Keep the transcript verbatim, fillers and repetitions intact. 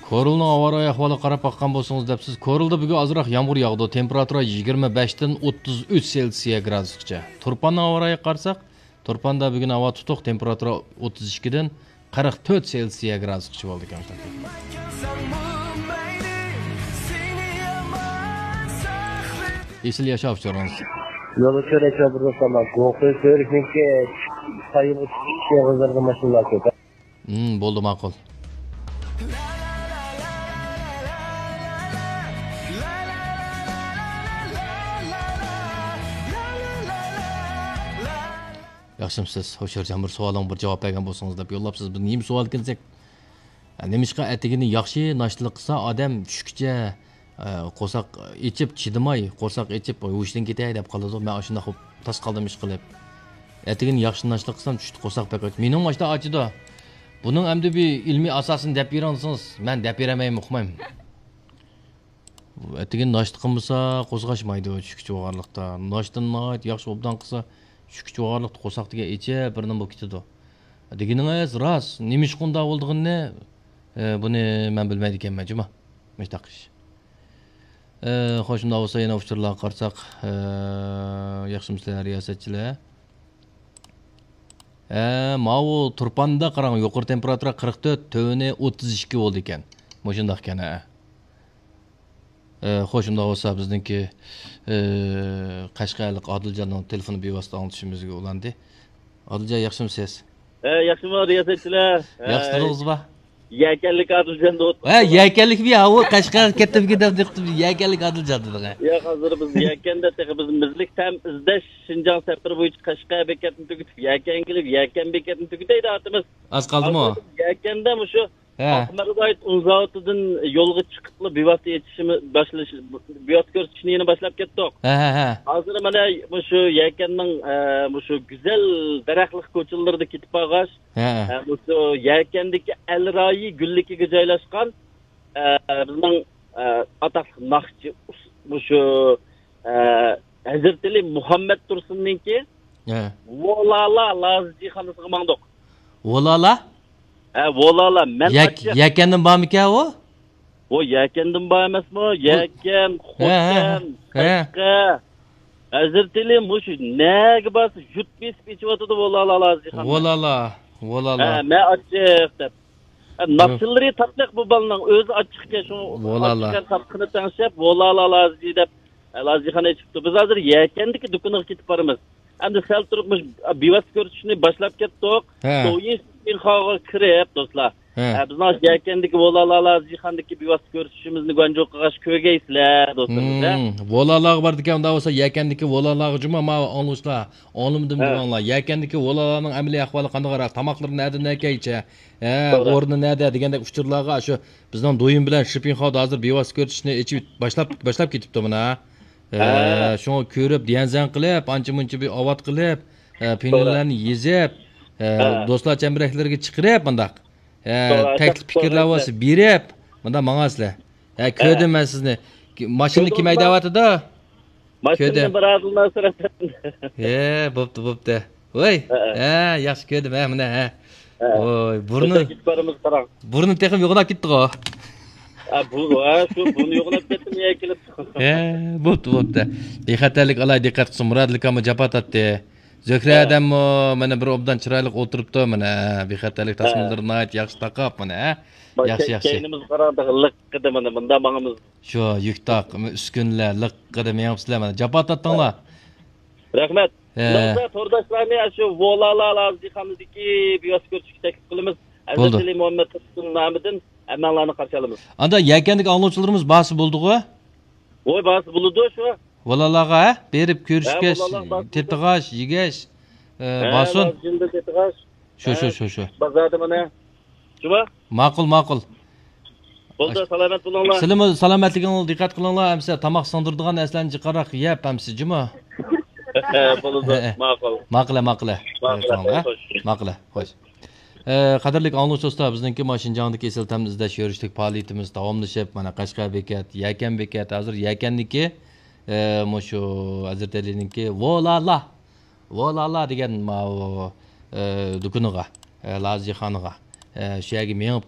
كورلىنىڭ ھاۋا رايى ئەھۋالىغا قاراپ باققان بولسىڭىز دەپسىز. كورلىدا بۈگۈن ئازراق يامغۇر ياغىدۇ. تېمپېراتۇرا يىگىرمە بەشتىن ئوتتۇز ئۈچ سېلسىيە گرادۇسقىچە. تۇرپاننىڭ ھاۋا رايىغا قارىساق، تۇرپاندا بۈگۈن ھاۋا تۇتۇق، تېمپېراتۇرا ئوتتۇز ئىككىدىن قىرىق تۆت سېلسىيە گرادۇسقىچە بولىدىكەن. ئېسىل ياشاۋ ئۇچۇرىڭىز. يولدا كۆرۈشۈۋاتىدۇ، سامان. گوخۇي كۆرۈشنىڭكى سايىغا چىقىش ئېغىزلىرىدا ماشىنىلار كۆپ. ھىم، بولدى، ماقۇل. ياخشىمسىز؟ ھوشيارجان، بىر سوئالىڭ بىر جاۋاب بەرگەن بولسىڭىز دەپ يوللاپسىز. بىز نېمە سوئال ئىكەن دېسەك، نېمىشقا ئەتىگىنى ياخشى ناشتىلىق قىلسا ئادەم چۈشكىچە، ئە، قورساق ئېچىپ چىدىماي، قورساق ئېچىپ ھوشىدىن كېتەي دەپ قالىدۇ. مەن ئاشۇنداق بولۇپ تاس قالدىم ئىش قىلىپ. ئەتىگىنى ياخشى ناشتىلىق قىلسام چۈشتە قورساق بەك ئاچ. مېنىڭمۇ ئاشۇنداق ئاچىدۇ. بۇنىڭ ئەمدى بىر ئىلمىي ئاساسىنى دەپ بېرىڭ دېسىڭىز، مەن دەپ بېرەلمەيمەن، ئۇقمايمەن. ئەتىگەن ناشتا قىلمىسا قورساق ئاچمايدۇ چۈشكىچە بولغانلىقتا. ناشتىنى ناھايىتى ياخشى ئوبدان قىلسا، چۈشكىچە بولغانلىقتا قورساق دېگەن ئېچىپ بىر نېمە بولۇپ كېتىدۇ. دېگىنىڭىز راست. نېمە ئىشقا ئۇنداق بولىدىغىنىنى، ئە، بۇنى مەن بىلمەيدىكەنمەن جۇما. مۇشۇنداق ئىش. ئە، خوش، ئۇنداق بولسا يەنە ئۇچۇرلارغا قارىساق، ئە، ياخشىمۇسىلەر رىياسەتچىلەر؟ ئە، ماۋۇ تۇرپاندا قاراڭ، يۇقىرى تېمپېراتۇرا قىرىق تۆت، تۆۋىنى ئوتتۇز ئىككى بولىدىكەن. مۇشۇنداق ئىكەن، ھە. ئە، خوش، ئۇنداق بولسا بىزنىڭكى، ئە، قەشقەرلىك ئادىلجاننىڭ تېلېفونى بىۋاسىتە ئاڭلىتىشىمىزگە ئۇلاندى. ئادىلجان، ياخشىمۇسىز؟ ئە، ياخشىمۇ رىياسەتچىلەر؟ ياخشى تۇردىڭىزمۇ؟ يەكەنلىك ئادىلجان دەۋاتىدۇ. ھە، يەكەنلىكمۇ يا، ئۇ قەشقەرگە كەتتىمكىن دەپ دىققىتىم، يەكەنلىك ئادىلجان دېدىڭ، ھە. ياق، ھازىر بىز يەكەندە تېخى بىز مىزلىك تەم ئىزدەش شىنجاڭ سەپىرى بويىچە قەشقەر بېكەتنى تۈگىتىپ، يەكەنگە كېلىپ، يەكەن بېكەتنى تۈگىتەي دەۋاتىمىز. ئاز قالدىمۇ؟ ھازىر بىز يەكەندە مۇشۇ ھە. ئاقمەردايىت ئۇن زاۋۇتىدىن يولغا چىقىپلا بىۋاسىتە ئېچىشىمىز، باشلىش، بىۋاسىتە كۆرسىتىشنى يەنە باشلاپ كەتتۇق. ھە، ھە، ھە. ھازىر مانا مۇشۇ يەكەننىڭ، ئە، مۇشۇ گۈزەل دەرەخلىك كوچىلىرىدا كېتىپ بارغاچ، ھە. ئە، مۇشۇ يەكەندىكى ئەل رايى گۈللۈكىگە جايلاشقان، ئە، بىزنىڭ، ئە، ئاتاقلىق ناخشىچى ئۇس-، مۇشۇ، ئە، ھەزرىتى ئەلى مۇھەممەد تۇرسۇننىڭكى ھە. ۋولالا لازىجىخانىسىغا ماڭدۇق. ۋولالا؟ ھە، ۋولالا، مەن يەك-، ئاچچىق. يەكەندىن بارمىكەن ئۇ؟ ئۇ يەكەندىن بار ئەمەسمۇ؟ يەكەن، ھە، ھە، خوتەن، ھە. قەشقەر. ھەزرىتى ئەلى مۇشۇ نەگە بارسا يۇرت بېسىپ ئېچىۋاتىدۇ ۋولالا لازىجىخانىنى. ۋولالا، ۋولالا. ھە، مەن ئاچچىق دەپ. ھە، ناخشىلىرى تاتلىق بۇ بالىنىڭ، ئۆزى ئاچچىقكەن، شۇ ۋولالا. ئاچچىقكەن تاتلىقىنى تەڭشەپ، ۋولالا لازىجى دەپ، ھە، لازىجىخانا ئېچىپتۇ. بىز ھازىر يەكەندىكى دۇكىنىغا كېتىپ بارىمىز. ئەمدى سەل تۇرۇپ مۇشۇ بىۋاسىتە كۆرسىتىشنى باشلاپ كەتتۇق. ھە. دويىن شىنخاغا كىرىپ، دوستلار. ھە. ھە، بىزنىڭ يەكەندىكى ۋولالا لازىجىخاندىكى بىۋاسىتە كۆرسىتىشىمىزنى گۇەنجۇ قىلغاچ كۆرگەيسىلەر، دوستلىرىمىز، ھە. ھىم، ۋولالاغا بارىدىكەن، ئۇنداق بولسا يەكەندىكى ۋولالاغا جۇما، ماۋۇ ئاڭلىغۇچىلار، ئاڭلىمىدىم ھە. دېمەڭلار. يەكەندىكى ۋولالاغىنىڭ ئەمەلىي ئەھۋالى قانداقراق، تاماقلىرى نەدە، نەكەيچە، ھە، توغرا. ئورنى نەدە دېگەندەك ئۇچۇرلارغا شۇ بىزنىڭ دويىن بىلەن شىپىنخاۋدا ھازىر بىۋاسىتە كۆرسىتىشنى ئېچىپ باشلاپ، باشلاپ كېتىپتۇ مانا. ھە، ھە. شۇڭا كۆرۈپ، ديەنزەن قىلىپ، ئانچە مۇنچە بىر ئاۋات قىلىپ، ھە، توغرا. پىنلەرنى يېزىپ، ھە، ھە. دوستلار چەمبىرەكلىرىگە چىقىرىپ مۇنداق. ھە، توغرا، تەكلىپ پىكىرلەر بولسا بېرىپ، مۇنداق ماڭاسىلەر. ھە، ھە. كۆردۈم مەن سىزنى. ماشىنا كۆردۈڭىزمۇ؟ كىم ھەيدەۋاتىدۇ؟ ماشىنىنى كۆردۈم. بىر ئادىل ناسىر ئەپەندى. ھە، بوپتۇ، بوپتۇ. ۋاي، ھە، ھە. ھە، ياخشى كۆردۈم، ھە، مانا، ھە. ھە. ۋاي، بۇرنى، كېتىپ بارىمىز، قاراڭ. بۇرنى تېخى يوغىناپ كېتىپتىغۇ. ھە، بۇ، ھە، شۇ بۇرنى يوغىناپ كەتتىمۇ يا كېلىپ. ھە، بوپتۇ، بوپتۇ. بىخەتەرلىك ئالاي دىققەت قىلسۇن، مۇرادىل ئاكاممۇ جاپا تارتتى. زۆھرە ھە. ئادەممۇ مانا بىر ئوبدان چىرايلىق ئولتۇرۇپتۇ، مانا، ھە، بىخەتەرلىك ھە. تاسمىلىرىنى ناھايىتى ياخشى تاقاپ، مانا، ھە. ياخشى، ياخشى. كەينىمىزگە قاراڭ، تېخى لىققىدە مانا، مۇنداق ماڭىمىز. شۇ يۈك تاق، ئۈسكۈنىلەر لىققىدە مېڭىپسىلەر، مانا، جاپا تارتتىڭلار. رەھمەت. ھە. شۇنداق بولسا تورداشلارنى شۇ ۋولالا لازىجىخانىدىكى بىۋاسىتە كۆرۈشۈشكە تەكلىپ قىلىمىز. بولدى. ھەزرىتى ئەلى مۇھەممەد تۇرسۇن نامىدىن ھەممەڭلارنى قارشى ئالىمىز. ئاندا يەكەندىكى ئاڭلىغۇچىلىرىمىز بارسا بولىدىغۇ؟ ۋوي، بارسا بولىدۇ شۇ. ۋولالاغا، ھە؟ بېرىپ ھە، كۆرۈشكەچ، ۋولالاغا بارسا بولىدۇ. تېتىغاچ، يېگەچ، ئە، ھە، بارسۇن. لازىجىندا تېتىغاچ. شۇ، شۇ، ھە، شۇ، شۇ. بازاردا مانا. جۇما؟ ماقۇل، ماقۇل. بولدى، سالامەت بولۇڭلار. سىلىمۇ سالامەتلىكىڭلارغا دىققەت قىلىڭلار، ئەمسە تاماق سىڭدۈرىدىغان نەرسىلەرنى جىقراق يەپ، ئەمسە، جۇما؟ بولىدۇ، ھە، ھە. ماقۇل. ماقۇلە، ماقۇلە. ماقۇلە، خوش. ماقۇلە، خوش. ئە، قەدىرلىك ئاڭلىغۇچى دوستلار، بىزنىڭكى مانا شىنجاڭدىكى ئېسىل تەمنى ئىزدەش يۈرۈشلۈك پائالىيىتىمىز داۋاملىشىپ، مانا قەشقەر بېكەت، يەكەن بېكەت، ھازىر يەكەندىكى، ئە، مۇشۇ ھەزرىتى ئەلىنىڭكى ۋولالا، ۋولالا دېگەن ماۋۇ، ئە، دۇكىنىغا، ئە، لازىخانىغا، ئە، شۇ يەرگە مېڭىپ